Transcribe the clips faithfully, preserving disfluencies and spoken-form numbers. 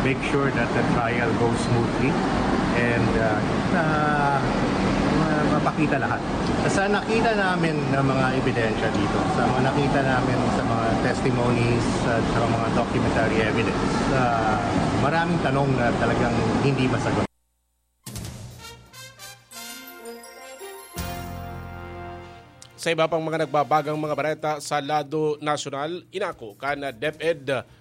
Make sure that the trial goes smoothly and uh, na ma- mapakita lahat. Sa nakita namin ng mga ebidensya dito, sa mga nakita namin sa mga testimonies at sa mga documentary evidence, uh, maraming tanong na talagang hindi masagot. Sa iba pang mga nagbabagang mga bareta sa lado nasyonal, inako kan DepEd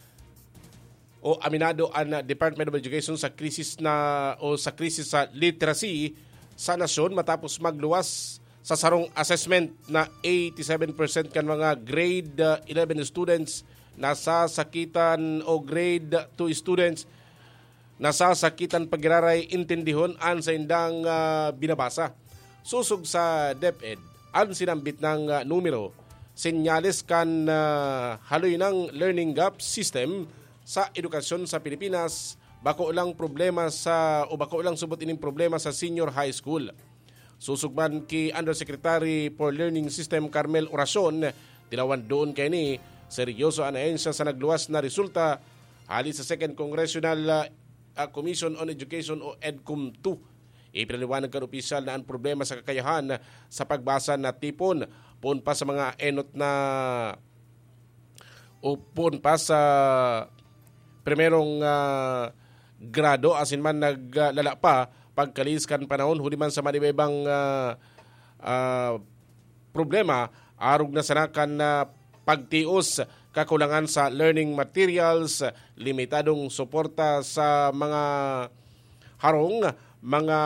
o aminado an Department of Education sa krisis na o sa krisis sa literacy sa nasyon matapos magluwas sa sarong assessment na eighty-seven percent kan mga grade uh, eleven students nasasakitan o grade two students nasasakitan pagiraray intindihon an saindang uh, binabasa. Sosog sa DepEd, an sinambit nang uh, numero, senyales kan uh, haloy nang learning gap system sa edukasyon sa Pilipinas, bako lang problema sa o bako lang subot ining problema sa senior high school. Susog man ki Undersecretary for Learning System Carmel Oracion, tinawan doon kaini, seryoso an ahensya sa nagluwas na resulta hali sa Second Congressional uh, Commission on Education o EDCOM two. Ipinaliwanag kan opisyal na ang problema sa kakayahan sa pagbasa na tipon poon pa sa mga enot na o poon pa sa primerong uh, grado asin man naglala pa pagkalis kan panahon huli man sa manibaybang uh, uh, problema arog na sana kan uh, pagtios, kakulangan sa learning materials, limitadong suporta sa mga harong, mga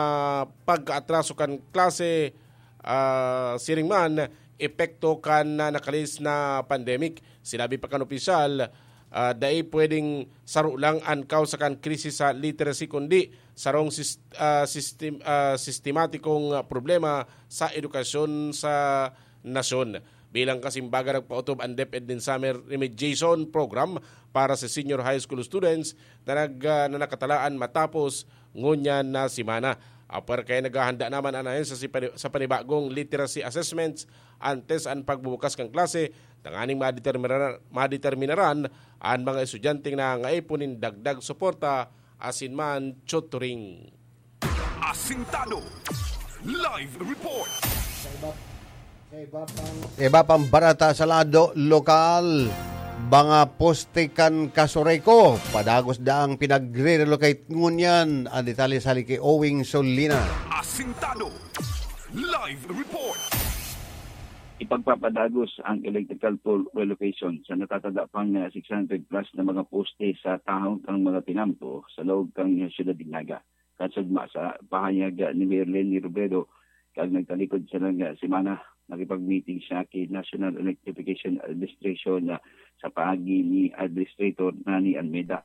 pagkaatraso kan klase, uh, siring man epekto kan uh, nakalis na pandemic. Sinabi pa kan opisyal, uh, dai pwedeng saro lang an kausa kan krisis sa literacy kundi sarong sis, uh, sistem, uh, sistematikong problema sa edukasyon sa nasyon. Bilang kasimbagan, nagpaotob ang DepEd nin Summer Remediation Program para sa senior high school students na, nag, uh, na nakatalaan matapos ngunyan na semana. Apwera kaya naghahanda naman an ahensya sa panibagong literacy assessments antes an pagbubukas kan klase tanganing madeterminaran, madeterminaran an mga estudyanteng nangangaipo nin dagdag suporta asin man tutoring. Asintado. Live report. Sa iba pang barata sa lado lokal, mga poste kan Kasureko, padagos daang pinagre-relocate ngunyan. Ang detalye sa haliki Owing Solina. Asintado. Live report. Ipagpapadagos ang electrical pole relocation sa natatanda pang 600 plus na mga poste sa tahong kang mga tinampo sa laog kang siyudad nin Naga. Kasugma sa pahayag ni Mayor Leni Robredo, kag nagtalikod sa lang semana, nakipag-meeting siya ki National Electrification Administration sa paagi ni Administrator Nani Almeda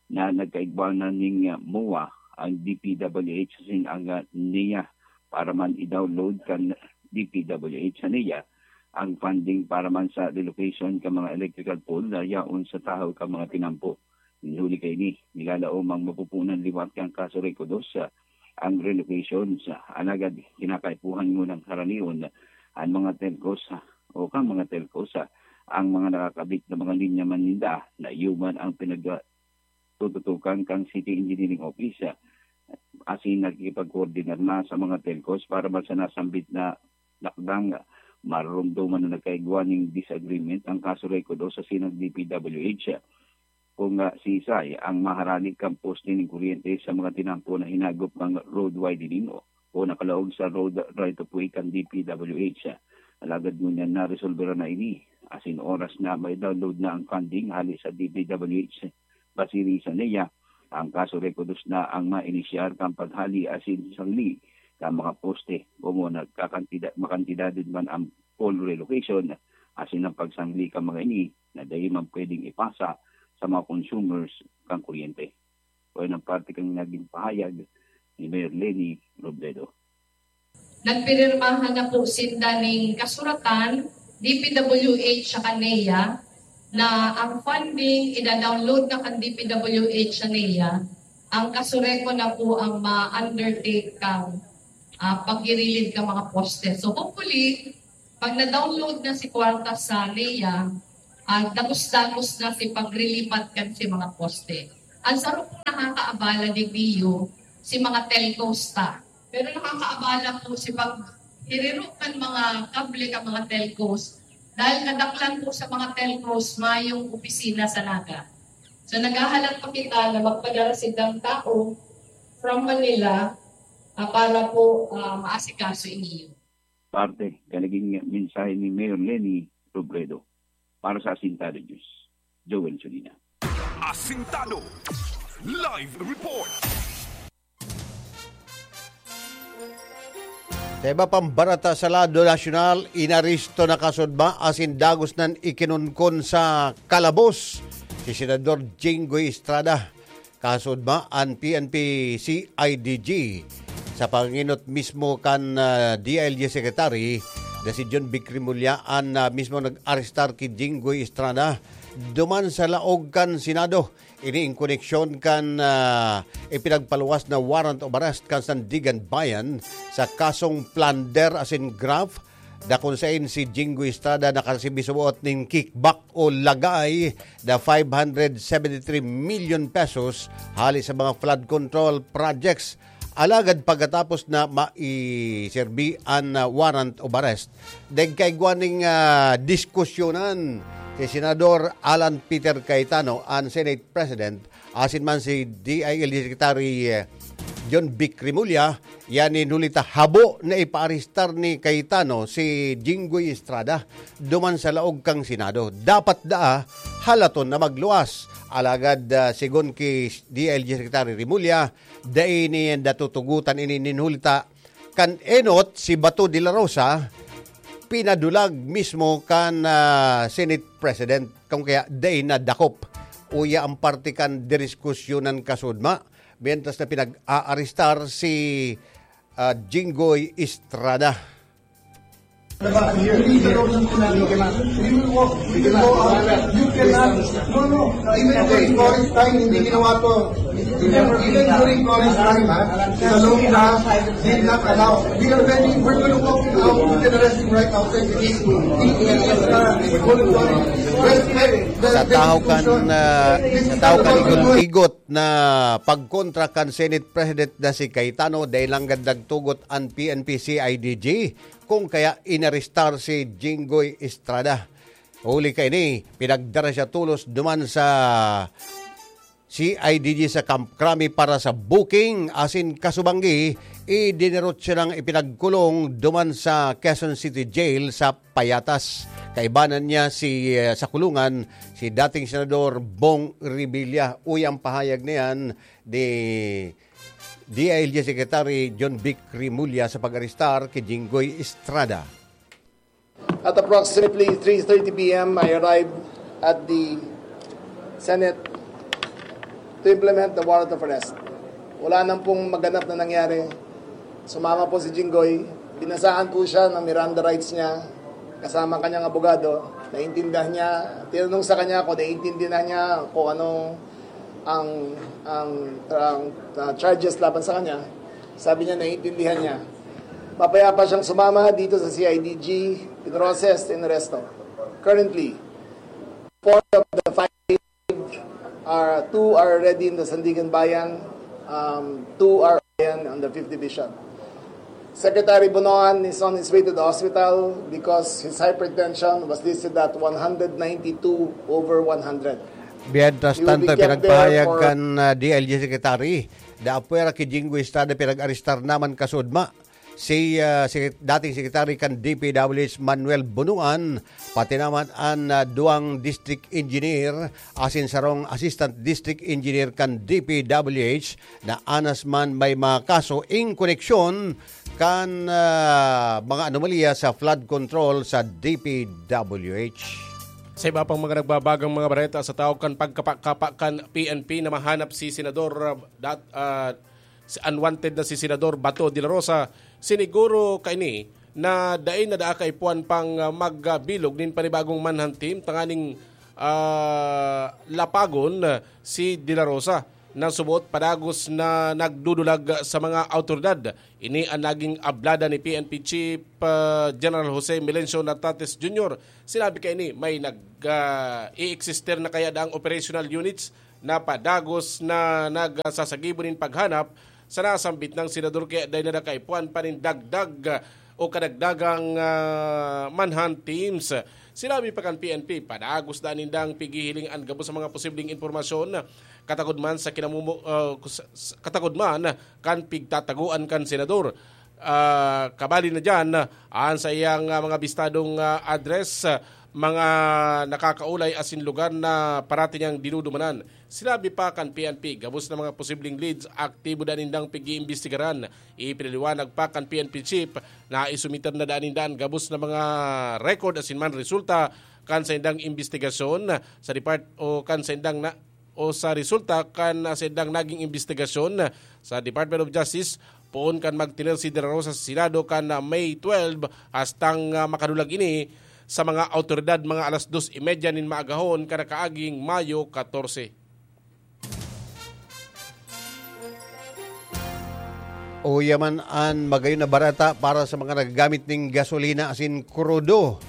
na nagkaigbanan ning MOA ang DPWH asin ang NEA para man i-download kan DPWH sa NEA ang funding para man sa relocation kan mga electrical pole na yaon sa tahaw kan mga tinampo. Nin huli kaini, nilalaom ang mapupunan liwat kan Kasureko dos ang relocation. Alagad kinakaipuhan ngunang haranion an mga telcos o kan mga telcos ang mga nakakabit na mga linya man ninda na iyo man ang pinagtututukan kan City Engineering Office asin nakikipagkoordinar na sa mga telcos para man sa nasambit na lakdang. Marurumdoman na nagkaigwa nin disagreement ang Kasureko dos asin ang DPWH kung siisay ang maharani kan poste nin kuryente sa mga tinampo na hinagop kan road widening o nakalaog sa road right of way kan DPWH. Alagad ngunyan naresolbera na ini asin oras na ma-download na ang funding hali sa DPWH. Basi rin sa NEA, ang Kasureko dos na ang mainisyar kan paghali asin sangli kan mga poste komo nagkakantidad makantidad man ang pole relocation asin ang pagsangli kan mga ini na dai man pwedeng ipasa sa mga consumers kan kuryente. Kaya ng parte kan naging pahayag ni Mayor Leni Robredo. Nagpirmahan na po sinda ning kasuratan, D P W H saka NEA, na ang funding ida-download na kan D P W H sa NEA, ang Kasureko na po ang ma-undertake kang uh, paggirilid ka mga poste. So hopefully, pag na-download na si kwarta sa NEA, uh, dagos-dagos na si pagrilipat kan si mga poste. Ang saro pong nakakaabala digdi iyo, si mga telcos ta. Pero nakakaabala po si paghirirok kan mga kable kan mga telcos. Dahil kadaklan po sa mga telcos, mayong opisina sa Naga. So, naghahalat pa kita na magpadara sindang tao from Manila, ah, para po, ah, maasikaso ini. Parte kan naging mensahe ni Mayor Leni Robredo. Para sa Asintado News, Joel Solina. Asintado Live Report. Sa iba pang barata sa lado nasyonal, inaresto na kasudma asin dagos nan ikinunkon sa kalabos si Senador Jinggoy Estrada. Kasudma an P N P C I D G sa panginot mismo kan, ah, D I L G Secretary na si John Vic Remulla an, ah, mismo nag-arestar ki Jinggoy Estrada duman sa laog kan Senado. Ini in koneksyon kan, ah, ipinagpaluwas na warrant of arrest kan Sandiganbayan sa kasong plunder asin graft, dakon sain si Jinggoy Estrada nakaresibi suboot nin kickback o lagay na five hundred seventy-three million pesos hali sa mga flood control projects. Alagad pagkatapos na maiserbi an, ah, warrant of arrest, nagkaigwa ning, ah, diskusyonan si Senador Alan Peter Cayetano, an Senate President, asin man si D I L G Secretary, eh, John Vic Remulla, yan in huli ta habo na ipaarestar ni Cayetano si Jinggoy Estrada duman sa laog kan Senado. Dapat daa halaton na magluwas. Alagad, ah, sigon ki D I L G Secretary Remulla, dai niya natutugotan ini nin huli ta kan enot si Bato de la Rosa, pinadulag mismo kan, ah, Senate President, kung kaya dai nadakop. Uya ang parte kan diriskusyonan kasudma, mientras na pinag-aarestar si, ah, Jinggoy Estrada. Diba? Hindi ka daw ng sinabi, you cannot. We will walk, we will go out. You cannot. No, no. Even during Cory's time, hindi ginawa to. Even, even during Cory's time, ha? Salonga did not allow. We are ready. We're gonna walk him out. You can arrest him right outside the gate. He, he is, uh, respect the, Sa the tao kan, institution. Uh, This is sa tao kan about igot-igot na pagkontra kan Senate President na si Cayetano, dai lang gad nagtugot an P N P C I D G, kung kaya inarestar si Jinggoy Estrada. Huli kaini, pinagdara siya tolos duman sa C I D G sa Camp Crame para sa booking asin kasubanggi, idinerot siya nang ipinagkulong duman sa Quezon City Jail sa Payatas. Kaibanan niya si, eh, sa kulungan, si dating Senador Bong Revilla. Uya ang pahayag niyan ni D I L G Secretary John Vic Remulla sa pag-arestar ki Jinggoy Estrada. At approximately three thirty p m, I arrived at the Senate to implement the warrant of arrest. Wala nang pong maganap na nangyari. Sumama po si Jinggoy. Binasaan po siya ng Miranda rights niya kasama kanyang abogado. Naintindihan niya. Tinanong sa kanya kung naiintindihan niya kung ano ang, ang, ang, ah, charges laban sa kanya. Sabi niya, naiintindihan niya. Mapayapa siyang sumama dito sa C I D G, pinrocess, inaresto. Currently, four of the five are, two are already in the Sandiganbayan, um, two are on the fifth Division. Secretary Bonoan is on his way to the hospital because his hypertension was listed at one hundred ninety-two over one hundred. Mientras He will be tanto, kept there pinagpahayag for kan, ah, D I L G Secretary, na apwera ki Jinggoy Estrada pinag-arestar naman kasudma si, ah, si dating Secretary kan D P W H Manuel Bonoan, pati naman an, ah, duwang district engineer asin sarong assistant district engineer kan D P W H na anas man may mga kaso in koneksyon kan, ah, mga anomalya sa flood control sa D P W H. Sa iba pang mga nagbabagang mga bareta sa tao kan pagkapakapa kan P N P na mahanap si Senador, ah, dat-, ah, si unwanted na si Senador Bato de la Rosa, siniguro kaini na dai na daa kaipuhan pang, ah, magbilog nin panibagong manhunt team tanganing, ah, lapagon, ah, si De La Rosa na subot padagos na nagdudulag sa mga awtoridad. Ini an naging ablada ni P N P Chief, ah, General Jose Melencio Natates Junior. Sinabi kaini may nag, ah, i-existe na kaya daang operational units na padagos na nagsasagibo nin paghanap sa nasambit nang senador, kaya dai na nakaipuhan pa nin dagdag o kadagdagang, ah, manhunt teams. Sinabi pa kan P N P, padagos na nindang pighihiling an gabos sa mga posibleng impormasyon, katagod man sa kinamumo-, ah, kus-, s-, katagod man kan pigtatagoan kan senador. Ah, kabali na diyan, ah, an sa iyang, ah, mga bistadong, ah, address, ah, mga nakakaulay asin lugar na parati niyang dinudumanan. Sinabi pa kan P N P, gabos na mga posibleng leads, aktibo daan nindang pag-iimbestigaran. Ipinaliwanag pa kan P N P chief na isumiter na daan ninda an gabos na mga record asin man resulta kan saindang imbestigasyon sa depart-, o kan saindang na, o sa resulta kan, ah, saindang naging imbestigasyon sa Department of Justice, poon kan magtener si De La Rosa sa Senado kan, ah, May twelve, hastang, ah, makadulag ini sa mga awtoridad mga alas dos y media nin maagahon kan nakaaging Mayo katorse. Uya man an magayon na bareta para sa mga nagagamit ning gasolina asin krudo.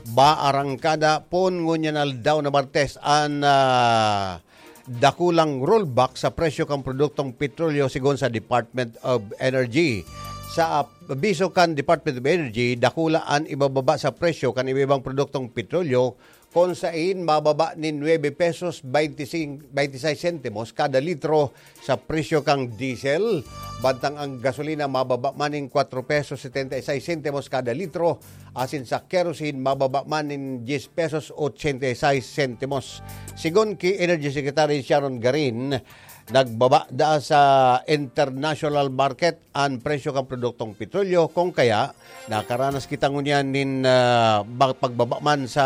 Ba arangkada pon ngunyan aldaw na Martes an, ah, dakulang rollback sa presyo kan produktong petrolyo, sigon sa Department of Energy. Sa abiso kan Department of Energy, dakula an ibababa sa presyo kan iba-ibang produktong petrolyo, kun sain mababa nin nuebe pesos beintisin-, beintisais sentimos kada litro sa presyo kan diesel, bantang ang gasolina mababa man nin kwatro pesos setenta y seis sentimos kada litro, asin sa kerosene mababa man nin dyes pesos ochenta y seis sentimos. Sigon ki Energy Secretary Sharon Garin, nagbaba daa sa international market an presyo kan produktong petrolyo, kung kaya nakaranas kita ngunyan nin, ah, ba-, pagbaba man sa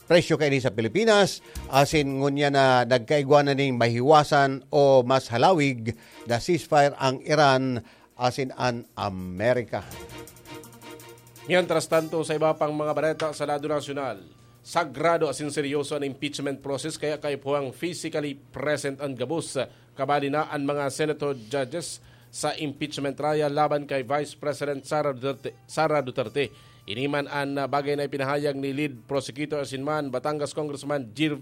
presyo kaini sa Pilipinas, asin ngunyan na nagkaigwa na ning mahiwasan o mas halawig na ceasefire ang Iran asin an Amerika. Mientras tanto, sa iba pang mga bareta sa lado nasyonal, sagrado asin seryoso an impeachment process, kaya kaipuhang physically present an gabos. Kabali na an mga senator judges sa impeachment trial laban kay Vice President Sara Duterte, Sara Duterte. Ini man an, ah, bagay na ipinahayag ni lead prosecutor asin man Batangas Congressman Jir-,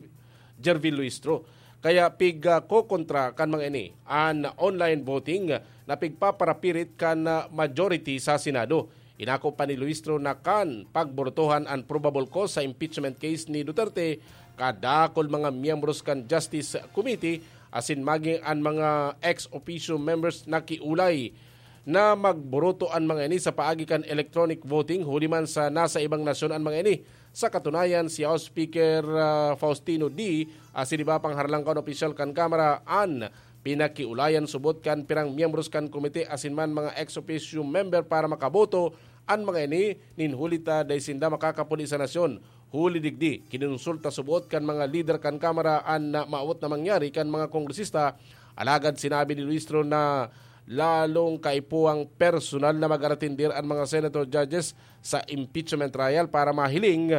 Jervil Luistro. Kaya pig, ah, kokontra kan mga ini an online voting na pigpaparapirit kan, ah, majority sa Senado. Inako pa ni Luistro na kan pagburutohan an probable cause sa impeachment case ni Duterte, kadakul mga miyembros kan Justice Committee asin maging an mga ex officio members nakiulay na magburuto an mga ini sa paagi kan electronic voting, huli man sa nasa ibang nasyon an mga ini. Sa katunayan, si House Speaker, ah, Faustino Dy asin iba pang harlangkaon opisyal kan Kamara an pinakiulayan subot kan pirang miyembros kan komite asin man mga ex officio member para makaboto an mga ini nin huli ta dai sinda makakapuli sa nasyon. Huli digdi, kinonsulta subot kan mga lider kan Kamara an na maawot na mangyari kan mga kongresista, alagad sinabi ni Luistro na lalong kaipuhang personal na mag-aratender an mga senator judges sa impeachment trial para mahiling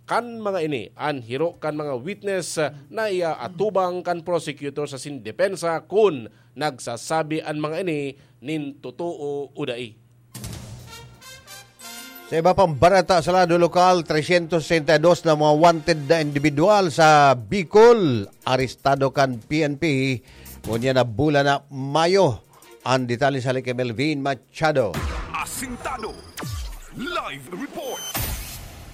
kan mga ini an hiro kan mga witness na iaatubang kan prosecutor sa sindepensa kun nagsasabi an mga ini nin totoo o dai. Sa iba pang bareta sa lado lokal, tresyentos sesenta y dos na mga wanted na individual sa Bicol, arestado kan P N P ngunyan na bulan na Mayo. Ang detalye sa kay Melvin Machado. Asintado. Live report.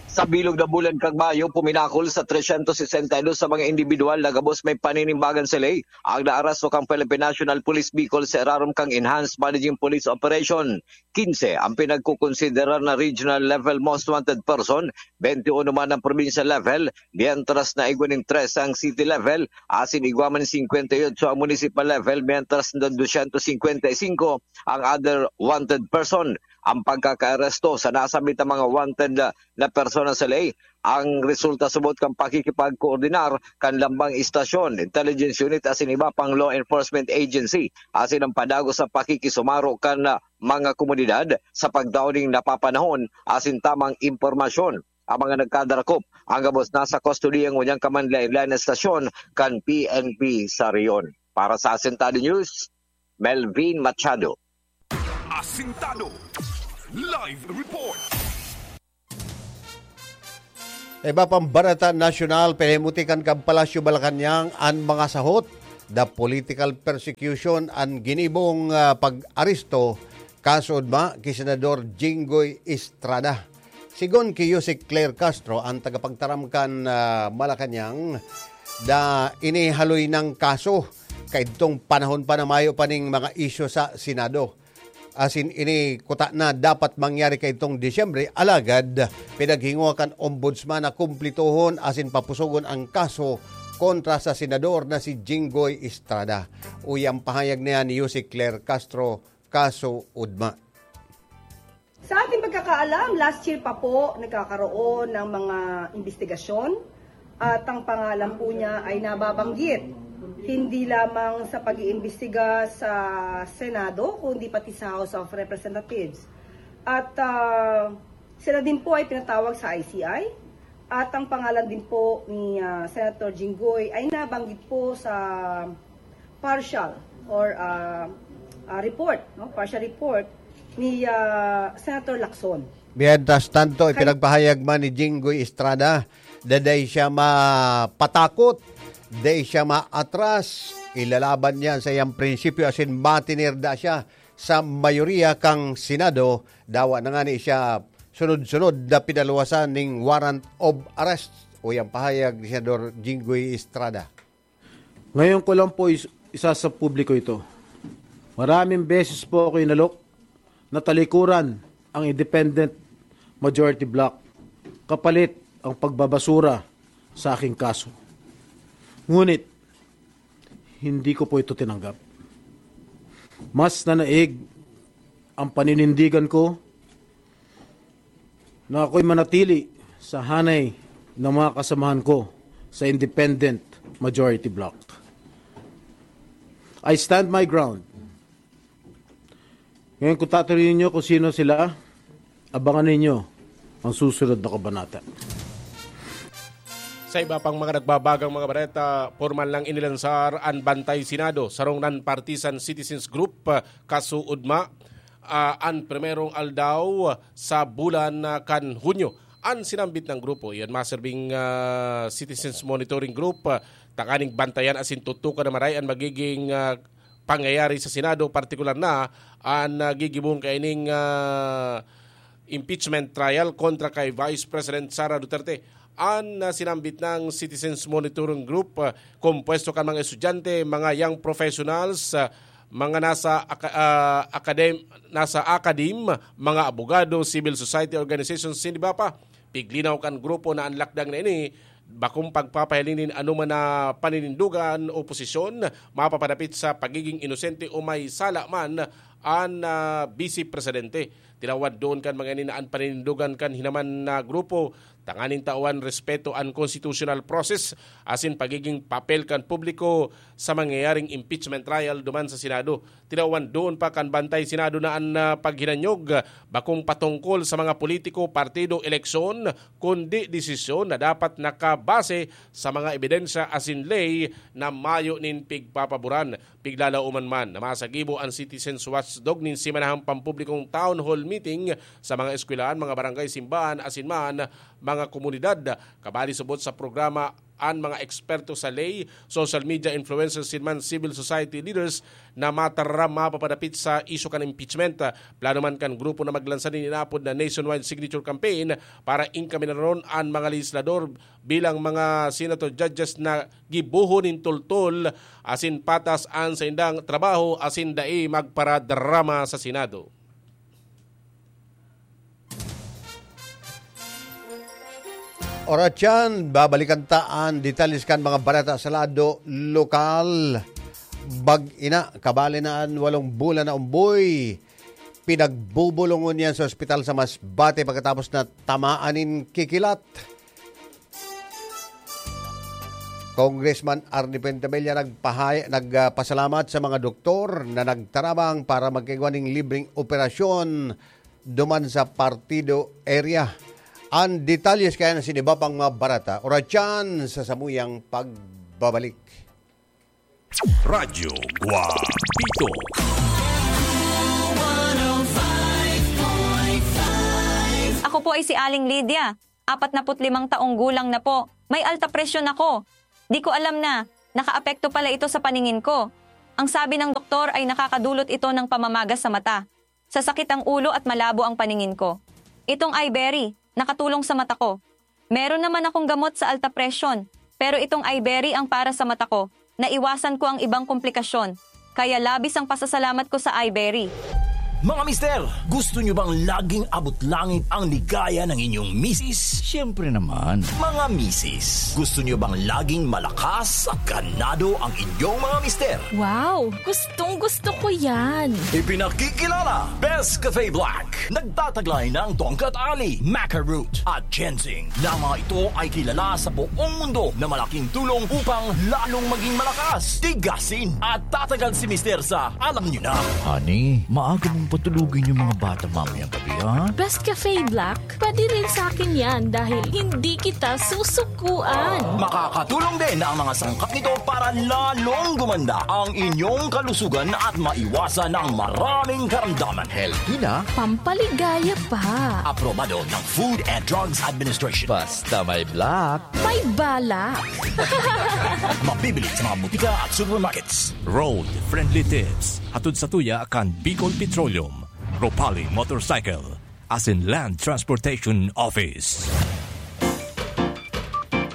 Sa bilog na bulan kan Mayo, puminakol sa tresyentos sesenta y dos sa mga individual na gabos may paninimbagan sa ley ang naaresto kan Philippine National Police Bicol sa irarom kan Enhanced Managing Police Operation. Kinse ang pinagkukonsiderar na regional level most wanted person, bente uno man ang provincial level, mientras na igwa nin trese ang city level, asin igwa man singkwenta y otso ang municipal level, mientras na dosyentos singkwenta y singko ang other wanted person. Ang pagkakaaresto sa nasambit na mga wanted na, na persona sa ley, ang resulta subot kan pakikipagkoordinar kan lambang istasyon, intelligence unit asin iba pang law enforcement agency, asin ang padagos sa pakikisumaro kan, ah, mga komunidad sa pagtao ning napapanahon asin tamang impormasyon. Ang mga nagkadarakop, ang gabos nasa kustodiya ngunyan kan manlaen-laen na estasyon kan P N P sa rehiyon. Para sa Asintado News, Melvin Machado. Asintado. Live report. Iba pang bareta nasyonal, pinahimuti kan Palasyo Malacañang an mga sahot. The political persecution an ginibong, ah, pag-aresto, kaso ugma ki Senador Jinggoy Estrada. Sigon ki Yusek Claire Castro, ang tagapagtaram kan, ah, Malacañang, da inihaloy nang kaso. Kaidtong panahon pa na mayo pa ning mga isyu sa Senado. Asin ini kuta na dapat mangyari kaidtong Disyembre, alagad pinaghingwa kan Ombudsman na kumplituhon asin papusogon ang kaso kontra sa senador na si Jinggoy Estrada. Uya ang pahayag niya ni Yusek Claire Castro, kaso ugma. Sa ating pagkakaalam, last year pa po nagkakaroon ng mga imbestigasyon at ang pangalan po niya ay nababanggit. Hindi lamang sa pag-iimbestiga sa Senado, kundi pati sa House of Representatives. At, ah, sila din po ay pinatawag sa I C I. At ang pangalan din po ni, ah, Senator Jinggoy ay nabanggit po sa partial or, ah, ah, report, no? Partial report ni, ah, Senator Lacson. Mientras tanto, Kay- ipinagpahayag man ni Jinggoy Estrada na dai siya mapatakot, dai siya maatras, ilalaban niya sa iyang prinsipyo asin matinirda siya sa mayoriya kan Senado. Dawa na ngani siya sunod-sunod na pinaluwasan ning warrant of arrest, uya ang pahayag ni Senador Jinggoy Estrada. Ngayon ko lang po is-, isa sa publiko ito. Maraming beses po ako inalok na talikuran ang independent majority bloc kapalit ang pagbabasura sa aking kaso. Ngunit, hindi ko po ito tinanggap. Mas nanaig ang paninindigan ko na ako'y manatili sa hanay ng mga kasamahan ko sa independent majority bloc. I stand my ground. Ngayon, kung tatanungin niyo kung sino sila, abangan ninyo ang susunod na kabanata. Sa iba pang mga nagbabagang mga bareta, pormal nang inilansar an Bantay Senado, sarong non-partisan citizens group, ah, kaso ugma, ah, an primerong aldaw sa bulan, ah, kan Hunyo. An sinambit na grupo, iyan maserbing, ah, Citizens Monitoring Group, ah, tanganing bantayan asin tutukan na maray an magiging, ah, pangyayari sa Senado, partikular na an, ah, gigibong kaining, ah, impeachment trial kontra kay Vice President Sara Duterte. An, ah, sinambit na Citizens Monitoring Group, ah, kompuesto kan mga estudyante, mga young professionals, ah, mga nasa aka-, ah, akadem-, nasa academe, mga abogado, civil society organizations, siniba pa. Piglinaw kan grupo na an lakdang na ini bakong pagpapahiling nin anoman na paninindogan o posisyon mapapadapit sa pagiging inosente o may sala man an, ah, Vice Presidente. Tinawan doon kan mga ini na an paninindogan kan hinaman na grupo tanganing tawan respeto an constitutional process asin pagiging papel kan publiko sa mangyayaring impeachment trial duman sa Senado. Tinawan doon pa kan Bantay Senado na an, ah, paghinanyog, ah, bakong patungkol sa mga politiko, partido, eleksyon, kundi desisyon na dapat nakabase sa mga ebidensya asin ley na mayo nin pigpapaboran. Piglalauman man na masagibo an Citizens Watchdog nin semanahang pampublikong town hall meeting sa mga eskwelahan, mga barangay, simbahan, asin man mga komunidad. Kabali subot sa programa an mga eksperto sa ley, social media influencers, sin man civil society leaders na mataram mapapadapit sa isyu kan impeachment. Plano man kan grupo na maglansa nin inaapod na nationwide signature campaign para inkaminaron an mga legislador bilang mga senator judges na gibohon nin tultol asin patas an saindang trabaho asin dai magparadrama sa Senado. Oras yan, babalikan ta an detalles kan mga bareta sa lado lokal. Bag-ina, kabali na an walong bulan na umboy. Pinagbubulungon niya sa ospital sa Masbate pagkatapos na tamaan nin kikilat. Congressman Arnie Fuentebella nagpahay-, nagpasalamat sa mga doktor na nagtarabang para magkaigwa ning libreng operasyon duman sa partido area. An detalles kaya na siniba pang mga bareta, oras yan sa samuyang pagbabalik. Radyo Guapito. Ako po ay si Aling Lydia. apat na put limang taong gulang na po. May alta presyon ako. Di ko alam na nakaapekto pala ito sa paningin ko. Ang sabi ng doktor ay nakakadulot ito ng pamamagas sa mata. Sasakit ang ulo at malabo ang paningin ko. Itong Iberry, nakatulong sa mata ko. Meron naman akong gamot sa alta presyon, pero itong Iberry ang para sa mata ko. Naiwasan ko ang ibang komplikasyon. Kaya labis ang pasasalamat ko sa Iberry. Mga mister, gusto nyo bang laging abot langit ang ligaya ng inyong misis? Siyempre naman. Mga misis, gusto nyo bang laging malakas at ganado ang inyong mga mister? Wow! Gustong gusto ko yan! Ipinakikilala, Best Cafe Black. Nagtataglay ng tongkat ali, maca root, at ginseng, na mga ito ay kilala sa buong mundo na malaking tulong upang lalong maging malakas, tigasin, at tatagal si Mister sa alam nyo na. Honey, maaga mong patulugin yung mga bata mamayang gabi, ha? Best Cafe Black, pwede rin sa akin yan dahil hindi kita susukuan. Makakatulong din ang mga sangkap nito para lalong gumanda ang inyong kalusugan at maiwasan ang maraming karamdaman. Healthy na, Pampaligaya pa. Aprobado ng Food and Drugs Administration. Basta may black, May balak. Mabibili sa mga butika at supermarkets. Road Friendly Tips, hatod sa tuya kan Bicol Petroleum, Ropali Motorcycle, asin Land Transportation Office.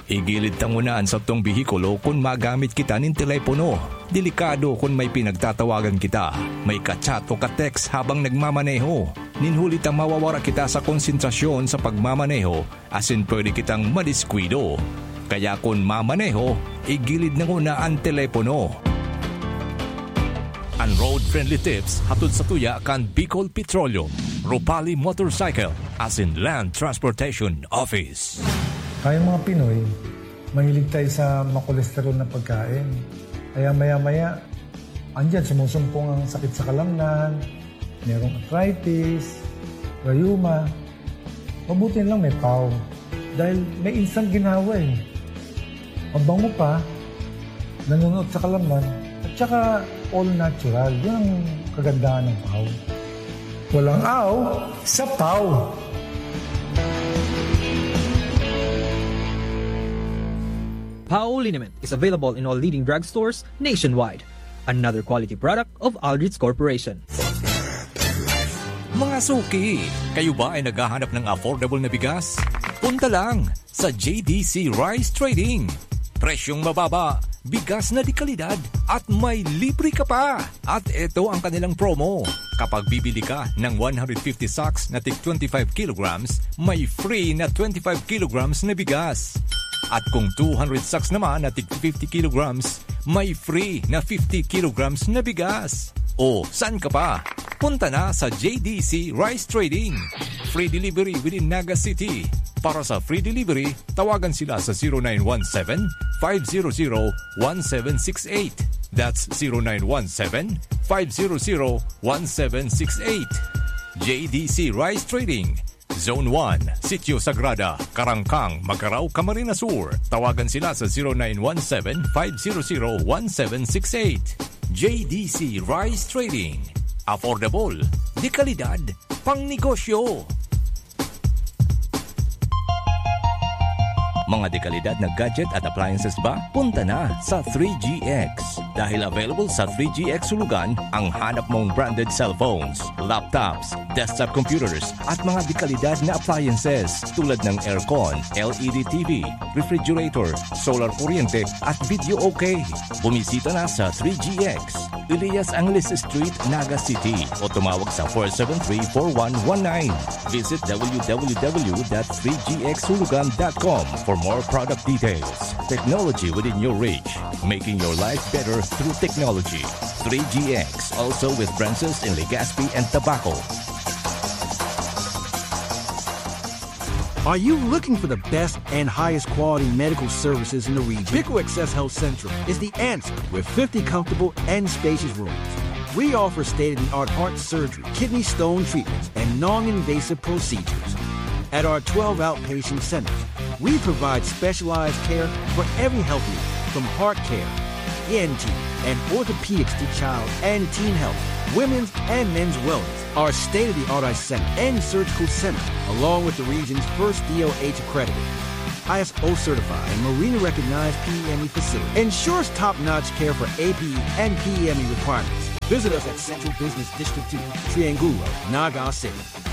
Igilid ta nguna an satong behikulo kun magamit kita nin telepono. Delikado kun may pinagtatawagan kita, may ka-chat o ka-text habang nagmamaneho. Nin huli ta mawawara kita sa konsentrasyon sa pagmamaneho asin pwede kitang madiskuido. Kaya kun mamaneho, igilid na nguna an telepono. An Road Friendly Tips hatod sa tuya kan Bicol Petroleum, Ropali Motorcycle, asin Land Transportation Office. Tayong mga Pinoy, mahilig tayo sa makolesterol na pagkain. Kaya maya-maya, andyan sumusumpong ang sakit sa kalamnan, merong arthritis, rayuma. Mabuti na lang may pau. Dahil may instant ginhawa eh. Mabango pa, nanunuot sa kalamnan, at saka all natural. Yun ang kagandahan ng pau. Walang aw sa pau. Pau liniment is available in all leading drugstores nationwide. Another quality product of Aldrich Corporation. Mga suki, kayo ba ay naghahanap ng affordable na bigas? Punta lang sa J D C Rice Trading. Presyong mababa, bigas na de kalidad, at may libre ka pa! At eto ang kanilang promo. Kapag bibili ka ng one hundred fifty sacks na tig twenty-five kilograms, may free na twenty-five kilograms na bigas. At kung two hundred sacks naman na tig fifty kilograms, may free na fifty kilograms na bigas. O, saan ka pa? Punta na sa J D C Rice Trading. Free delivery within Naga City. Para sa free delivery, tawagan sila sa zero nine one seven, five zero zero, one seven six eight. That's zero nine one seven, five zero zero, one seven six eight. J D C Rice Trading, Zone one, Sitio Sagrada, Karangkang, Magarao, Camarines Sur. Tawagan sila sa zero nine one seven, five zero zero, one seven six eight. J D C Rice Trading. Affordable, de kalidad, pang negosyo. Mga dekalidad na gadget at appliances ba? Punta na sa three G X. Dahil available sa three G X Hulugan ang hanap mong branded cellphones, laptops, desktop computers, at mga dekalidad na appliances tulad ng aircon, L E D T V, refrigerator, solar kuryente, at video okay. Bumisita na sa three G X, Elias Angeles Street, Naga City, o tumawag sa four seven three, four one one nine. Visit w w w dot three g x hulugan dot com for more product details. Technology within your reach, making your life better through technology. Three G X, also with branches in Legazpi and Tabaco. Are you looking for the best and highest quality medical services in the region? Pico Access Health Central is the answer with fifty comfortable and spacious rooms. We offer state of the art heart surgery, kidney stone treatments, and non invasive procedures. At our twelve outpatient centers, we provide specialized care for every health need, from heart care E N T, and orthopedics to child and teen health, women's and men's wellness. Our state-of-the-art eye center and surgical center, along with the region's first D O H accredited, I S O certified, and Marina recognized P E M E facility, ensures top-notch care for A P E and P E M E requirements. Visit us at Central Business District two, Triangulo, Naga City.